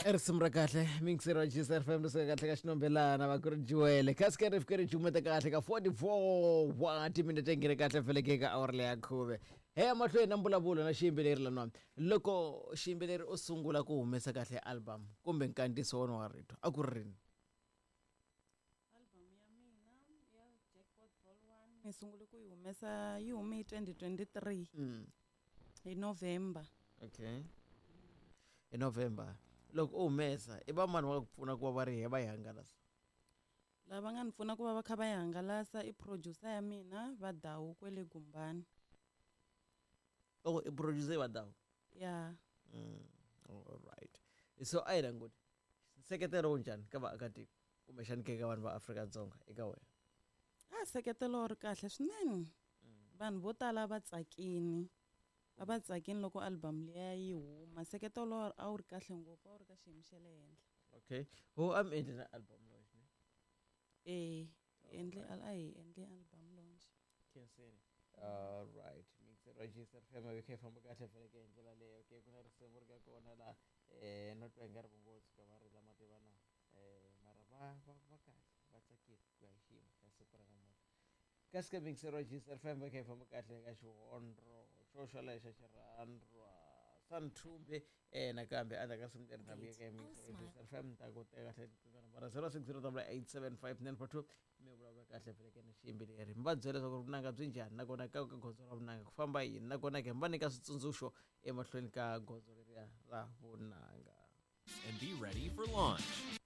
I risimu ra kahle mixer wa GCR FM ri suka kahle ka xinombelana va ku ri juwele kasi ka ri fike ri jumeta kahle ka 44 wa timinete nghene kahle feleke ka awara leya khume he ya mahlweni na mbulavulo na xiyimbeleri lanwani loko xiyimbeleri u sungula ku humesa kahle album kumbe nkandziyiso wona wa rito a ku ri rini? Album ya mina ya Jackpot Vol 1 ni sungule ku yi humesa yi hume hi 2023 hi November. Okay, hi November loko u humesa i va mani va ku pfuna ku va va ri he va yi hangalasa? Lava nga ni pfuna ku va va kha va yi hangalasa i producer ya mina va Dawu kwele Gumbani. Oh, i producer va Dawu? Ya. All right, so a hi languti nseketelo wu njhani ka vaakatiko kumbexani ke ka vanhu va Afrika-Dzonga eka wena? A seketelo ri kahle swinene, vanhu vo tala va tsakini, a va tsakini loko album liya yi huma. Nseketelo a wu ri kahle ngopfu, a wu ri ka xiyimo xa le henhla. Okay, ho a mi endli na album launch ne? E endle a hi endle album launch. Khenseni. All right, mixer wa GCR FM yi kha yi famba kahle feleke hi ndlela leyo. Okay, ku na risimu ri nga kona la no twa i nga ri vo ngo tshuka va rila mativana mara va va va kahle va tsakile ku ya hi xiyimo xa siku ra namuntlha. Kasi ka mixer wa GCR FM yi kha yi famba kahle ka xihondro xo xolexo xa xirhandrwa Santhumbe nakambe endzhaku ka risimu leri ta vuya ka mixer wa GCR FM ta ku teka kahle nambara 0608875942 mi vulavula kahle feleke na xiyimbeleri mi va byela leswaku vunanga byi njhani nakona ka ka gondzo ra vunanga ku famba yini nakona ke mi va nyika switsundzuxo emahlweni ka gondzo leriya ra vunanga. And be ready for launch.